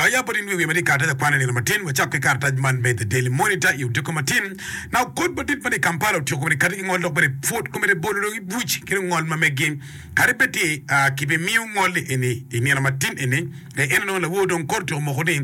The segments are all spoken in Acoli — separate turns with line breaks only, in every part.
Wek ayab bot in wi wiye ma tye i karatac akwana i nino matin. Wacak ki karatac man me The Daily Monitor i odiko matin. Now kot madit ma tye i Kampala otyeko bene kati ki ngol dok bene pwod kome bolo dong i buc ki ngol ma meggi. Kadi bed ti kibimiyo ngol-li eni i nino matin eni, en onongo lawor dong kot otyeko moko ni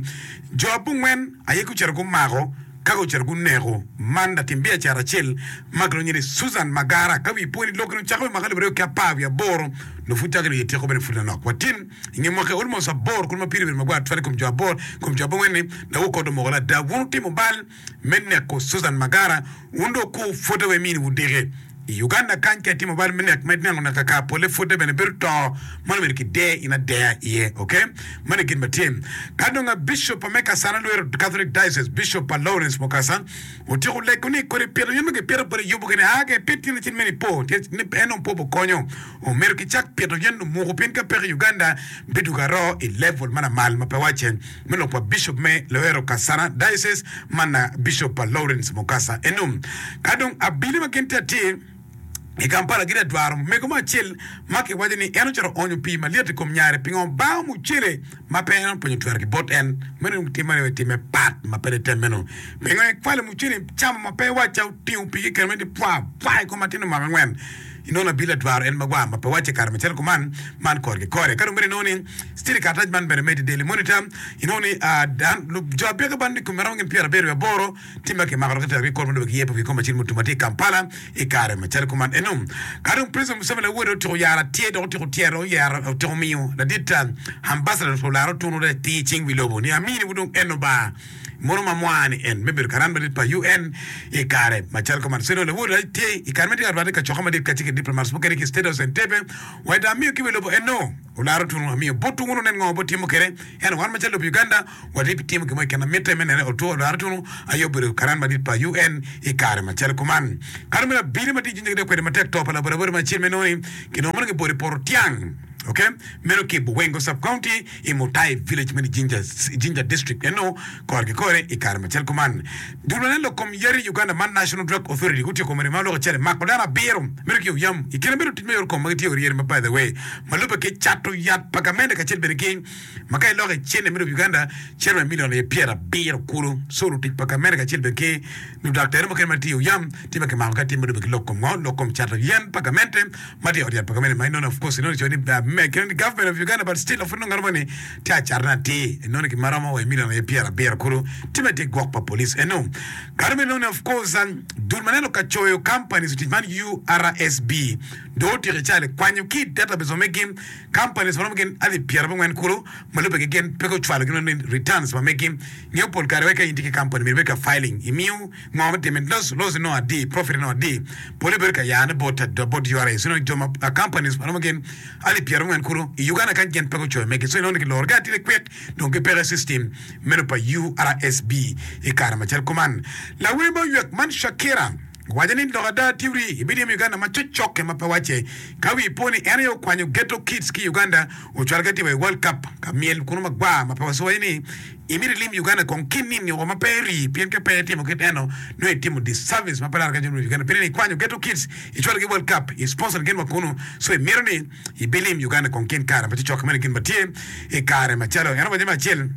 jo abongwen aye gucito gumako ka gucito guneko man latim biacara acel ma kilwongo nyinge ni Susan Magara. Ka wi po ni lok-ki dong cako i mwaka alip aryo ki apar wiye aboro nongo pud cako dong ityeko bene pud manok. Watin i nge mwaki almost aboro kulu ma pire obedo magwar tutwal i kom jo aboro i kom jo abongwen ni lawor kot omoko ni ada wun wutimo bal me neko Susan Magara, wun dong wukur pwodde wek miniwu diki. I Uganda kany ka itimo bal me nek ma ineno nek kaka polle pwodde bene bedo to mano myero kider in adeya iye ok mano gin ma tye. Ka dong a Bishop me Kasana Lwero Catholic Diocese Bishop pa Lawrence Mukasa otyeko lego ni kodi pito yen ma gipito bote yubo gini aa ke pit tyen acel me nipo tyen ni en dong po okonyo omyero kicak pito yen lumuku pien ka peko i Uganda bidwogo aroo i level ma lamal ma pe wacce me lok pa Bishop me Luero Kasana Diocese man na Bishop pa Lawrence Mukasa eno. Ka dong abili ma gin tye atir i Kampala gitye ka dwaro mego mo acel ma kiwaco ni en ocito oonyo pii malyet i kom nyare pingo bango mucele ma pe en openyo twero ki bot en. Meno dong tim meno time pat ma pe litem meno. Pingo ikwalo mucele icamo ma pe iwacca otingo pii keken mere ni pwa pwa i kom atin mwaka angwen. Inongo abili adwaro en magwar ma pe wacce kare macalo kuman man kore ki kore. Ka dong bene inongo ni still i karatac man bene me The Daily Monitor inongo ni jo abyeka ban i kome romo gin pyerabiro wiye aboro tye ma kimako dok kitero ki i kot ma lube ki yepo ki kom acel mutum ma tye i Kampala i kare macalo kuman eno. Ka dong President Museveni lawode otyeko yaro atye dok otyeko tyero oyero otyeko miyo ladit ambassador olara otunu atir i cing wi lobo ni amini wu dong eno ba Mono ma mwa ni en me bedo karan madit pa UN i kare macalo kuman. Ceno lawod aye tye i kare ma tye ka rwate i kacokke madit kacel ki diplomats mukene ki i State House Entebbe. Wa dong amiyo ki wi lobo eno olaro tunu amiyo botwu wun wunen ngo botimo kwede. Ento wan macalo lobo Uganda watye pi timo gin mo keken ma mitte me nene otwo olaro tunu aye obedo karan madit pa UN i kare macalo kuman. Kare me abili ma tye i Jinja gitye ka kwedo matek to pa labodabode ma acel me nongo ni kinongo mono gibolo i poto tyang. Ok, meno ki i Buwengo Sub-County i Mutai Village meno i Jinja, Jinja District eno kore ki kore i kare macel kuman. Dul ma neno lok kom yadi i Uganda man National Drug Authority gutyeko meno ma lok acel mako dano abiro meno ki oyam i kine bedo tic me yot kom ma gitye oryeri ma by the way ma lubbe ki cato yat pa gamente kacel bene ki ma ka iloko i cente me lobo Uganda cito wa i million aye pyerabiro kulu so lutic pa gamente kacel bene ki ludaktari mukene ma tye i oyam tye ma kimako ka tye ma lubbe ki lok kom ngo lok kom cato yen pa gamente Ma tye i ot yat pa gamente ma inongo of course inongo icoyo ni me government of Uganda but still of inongo ngat mo ni tye acatone atir inongo gin ma romo wa i million aye pyerabiro kulu tye ma tye gwok pa police eno kare me inongo ni of course dul ma neno ka coyo companies tic man URSB dong otyeko icali kwanyo ki i database ma megi companies ma romo gin alip pyerabongwen kulu ma lube ki gin pe gucwalo gin ni returns ma megi ngeyo pol kare wek ka in tye ki company myero ibed ka filing imiyo Ngo ma timme? Loss loss inongo adi? Profit inongo adi? Pole bedo ka yane bot bot URA. So inongo jo ma companies ma romo gin alip pyerangwen kulu i Uganda kany gin pe gucoyo megi. So inongo ni kiloro gi atida kwik dong gipeke system meno pa URSB i kare macalo kuman. Lawer ma oywek man Shakira owaco ni lok ada tiwri ibiryemo Uganda ma cocokke ma pe wacce. Ka wi po ni en aye okwanyo Ghetto Kids ki i Uganda ocwalo ki atir wa i World Cup ka myel kunu magwar ma pe wacoyo ni Imito ilim Uganda kong ki nini woko ma pe iri pien ka pe itimo kit eno nongo itimo disservice ma pe laro ka jo me Uganda pien ni ikwanyo ghetto kids icwalo gi world cup i sponsor gin wa kunu so imito ni ibilim Uganda kong kin kare ma cocoke meno gin ma tye i kare macalo en owaco me acel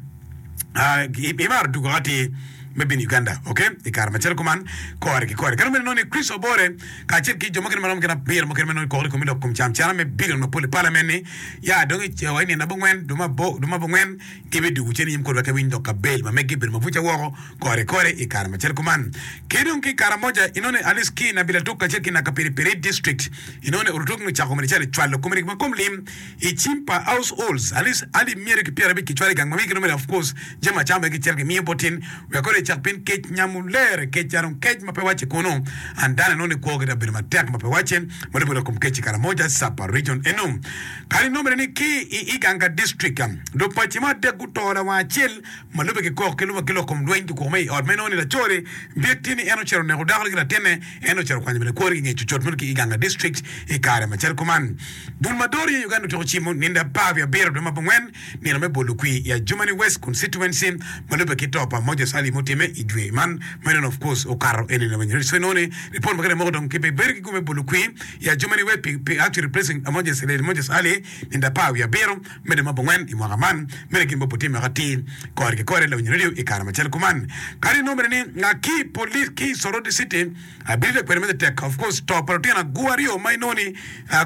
imaro dugo atir me bino Uganda ok i kare macalo kuman kore ki kore kadi bed inongo ni Chris Obore kacel ki jo mukene maromo gin abiro mukene ma nongo koko i komi lok kom cam cana me billion mapol i parliament ni ya dong i wa i nino abongwen dwe ma abongwen Gibidwogo cen i nyim kodi wek giwiny lok Abel ma megi obedo mabuca woko kore kore i kare macalo kuman. Ki dong ki i Karamoja, inongo ni Alice ki Nabilatuk kacel ki Nakapiripirit District, inongo ni Orutuk nongo ocako mere calo cwalo komiti ma kom lim i cim pa households. Alice alip myero ki 50 kicwalo i gang ma megi nongo mere of course jami acama bene kicito kimiyo bot tin wek kore ecak pien kec nyamo lere kec dong kec ma pe wacce kunu and dano inongo ni kwogi dok bedo matek ma pe wacce ma lubbe lok kom kec i Karamoja Sapa Region eno. Kadi nongo bene ni ki i Iganga District, lupaci mo adek guto lawang acel ma lubbe ki kok ki lubbe ki lok kom lweny kikuko me i ot ma inongo ni laco-ni byek tye ni en ocito oneko dakone ki latinne en ocito okwanyo bene kwone ki nge cucut meno ki Iganga District i kare macalo kuman. Dul ma doro iye Uganda otyeko cimo nindo apar wiye abiro dwe ma abongwen nino me bolo kwir i Adjumani West Constituency ma lubbe ki to pa Moses Ali mutime. otimme i dwe man ma nen of course okato eni lawiny radio. So inongo ni report ma kene moko dong ki bedo ki gum me bolo kwir i Adjumani wek pi pi actually replacing Moses Lady Moses Ali nindo apar wiye abiro me dwe me abongwen i mwaka man. Meno gin ma otimme atir kore ki kore lawiny radio i kare macalo kuman. Kadi inongo bene ni nga ki police ki i Soroti City Abirida kwede me tek of course to pa lutino agu aryo ma inongo ni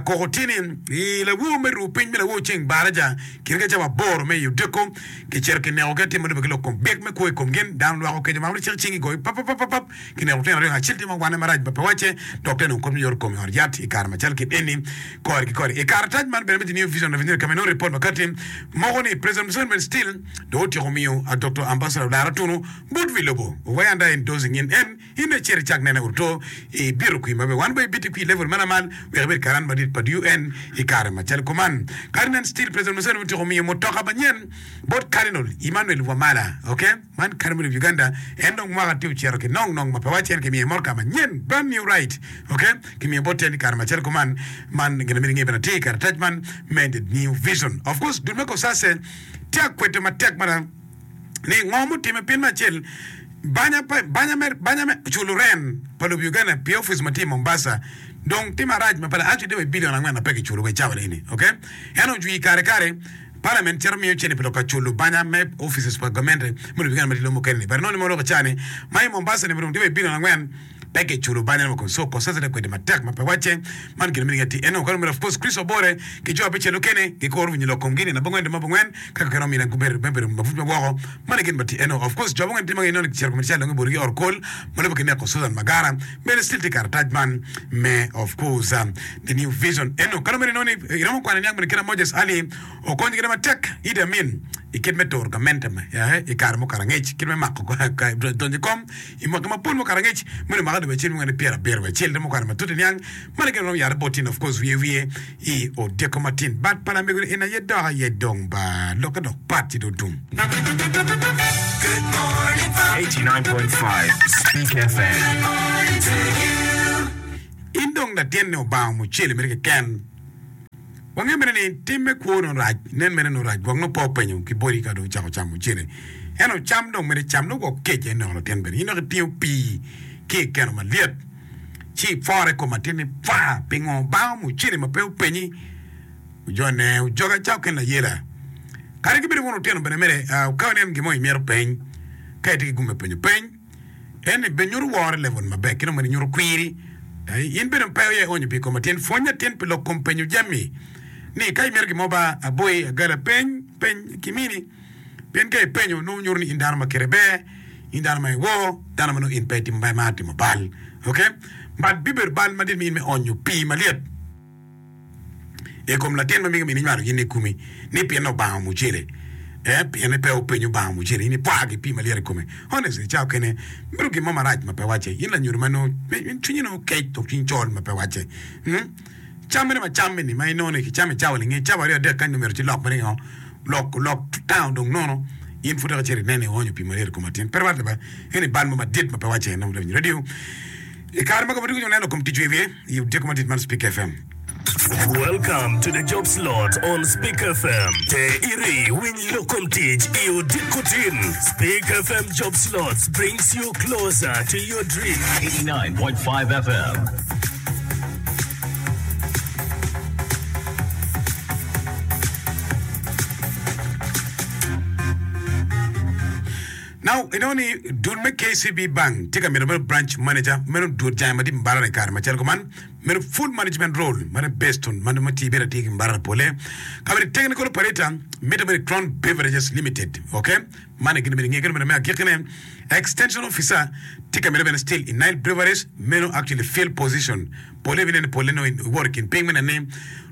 koko tye ni i lawor me ruu piny me lawor ceng baraja kine ka cawa aboro me i odiko kicito kineko gi atir ma lube ki lok kom byek me kwo i kom gin dano lwak okeco mako ni cik cingi goyo papapapap kineko lutino aryo acel tye ma wane marac ma pe wacce dok tye nongo kony me yot kom i ot yat i kare macal kit eni kore ki kore i karatac man bene me the new vision avenue ka ma inongo ripot ma kati moko ni President Museveni bene still dong otyeko miyo Doktor Ambassador Olara Tunu bot wi lobo wai anda endorsing in en In dong icit icak nene oruto i bito kwir maber. Wan bene ibiti kwir level ma lamal wek ibed karan madit pa UN i kare macalo kuman. Cardinal Steel President Museveni otyeko miyo mutoka manyen bot Cardinal Emmanuel Wamala. Ok, man Cardinal of Uganda. En dong mwaka tye ocito ki nong nong ma pe wacce en kimiye motoka manyen, brand new ride. Ok, kimiyo bot en i kare macalo kuman. Man gin ma myero inge bene atir i karatac man me The New Vision. Of course, dul me Cosase tye akweto matek mada. ni ngo mutime pien me acel banya pa banya me banya me culo ren pa lobo Uganda pi office ma tye i Mombasa dong tye marac ma pe actually tye wa i billion angwen ma pe kiculo wa i cawa eni ok ento ojwi kare kare parliament cito miyo cente pi lok ka culo banya me offices pa gamente me lobo Uganda ma tye i lobo mukene ni but inongo ni mo lok i cawa ni ma i Mombasa ni dong tye wa i billion angwen Pe kiculo banyane woko, so kosesene kwede matek ma pe wacce. Man gin ma myero inge eno. Kadi of course Kricito obore ki jo abicel mukene gikuro winyo lok komgi nino abongwen dwe me abongwen ka kikelo omine gubedo me bedo mabuc ma woko. Man aye gin ma tye eno. Of course jo abongwen tye ma gineno ni kicito komiti cal dong ibodigi i ot kol ma lubbe ki neko Susan Magara bene still tye i karatac man me of course the new vision eno. Kadi omyero inongo ni iromo kwano niang bene kit ma Moses Ali okonyo kwede matek Idi Amin i kit me turo gamente i kare mukato angec kit me mako donyo i kom I mwaki mapol mukato angec, meno omaka dwe acel me pyerabiro wiye acel romo kare matut iniang man gin romo yare bot tin of course wiye wiye i odiko matin bat pa lamego ni en aye dok aye dong ba lokke dok pat ci dong tum.
89.5 Speak FM.
In dong latin ni Obanga mucele mere keken. Wange mere ni tim me kwo nongo rac, nen mere nongo rac, gwok nongo pe openyo ki boti ka dong ocako camo cene. Ento cam dong mere cam nongo gwok kec aye neko latin bene. In dok itingo pii ki i keno malyet ci ipore i kom latin ni pwa! Pingo bango mucene ma pe openyi? Ojone ojoga ca oken layela. Kadi ki bedo wun lutino bene mere ka ineno gin mo imito peny, ka itye ki gum me penyo peny. En bene nyuto woro i level maber ki dong bene nyuto kwiri. In bene pe oye onyo pi kom atin. Pwony atin pi lok kom penyo jami ni ka imito gin mo ba aboyi agala peny peny ki mini. Pien ka ipenyo nongo nyuto ni in dano ma kite ber, in dano ma iwor, dano ma nongo in pe itimo mar timo bal. Ok? But bibedo bal madit mi in me onyo pii malyet. I kom latin ma mege mini nywalo in i komi ni pien obango mucele eh pien pe openyo bango mucele in ipwa ki pii malyet i kome honestly ca okene bedo gin mo marac ma pe wacce in lanyodo ma nongo cwinyi nongo kec dok cwinyi col ma pe wacce hmm cam mene ma cam eni ma inongo ni kicamo i cawa linge cawa aryo adek kany dong myero ci lok mere ngo lok lok town dong nono in pud dok icito inene ionyo pii malyet i kom latin pe rwatte ba eni bal mo madit ma pe wacce en dong radio I kare ma gamente gucako neno kom tic wiye i odiko madit man Speak FM.
Welcome to the job slot on Speak FM. Te iri winy lok kom tic i odiko tin. Speak FM job slots brings you closer to your dream.
89.5 FM.
Now, inongo ni dul me KCB Bank tye ka mito meno branch manager, meno dul jange madit Mbarara i kare macalo kuman, meno full management role mano based on mano ma tye bedo atir ki Mbarara pole. Ka bedo technical operator mito bedo Crown Beverages Limited, okay? Man gin myero inge kede meno me agikine. Extension officer tye ka mito bene still i Nile Breweries, meno actually field position. Pole ibineno ni pole nongo iwoto i kin piny me neno ni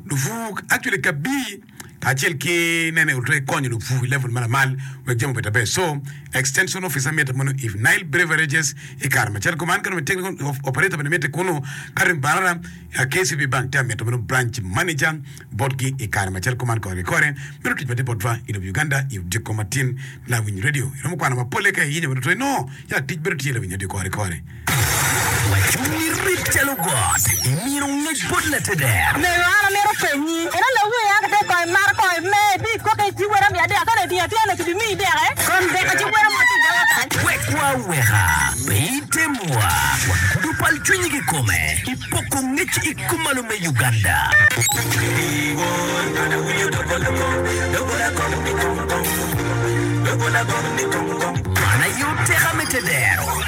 lupur actually kabii kacel ki nene otwe konyo lupur i level ma lamal wek jami obed aber. So, extension officer mitte mono i Nile Beverages i kare macalo kuman, ka dong technical operator bene mitte kunu, ka dong Mbarara KCB Bank tye amito meno branch manager botgi i kare macalo kuman kore ki kore. Meno tic madit botwa i lobo Uganda i odiko matin lawiny radio. Iromo kwano mapole ka iyinyo bene otwe nongo ya tic bedo tye lawiny radio kore ki kore.
Wacung irit calo got, imino ngec bot lateder.
Mego an amito penyi, ento lawer a kite kong imato kong imer ibi koke ci wera miya dek ka dong itingo atinga nongo kibi miyi deke kom dek ci wera mo tye i doga kany.
Wek wa. cwinyi kikome i poko ngec i kumalo me Uganda. Man aye oteka me tedero.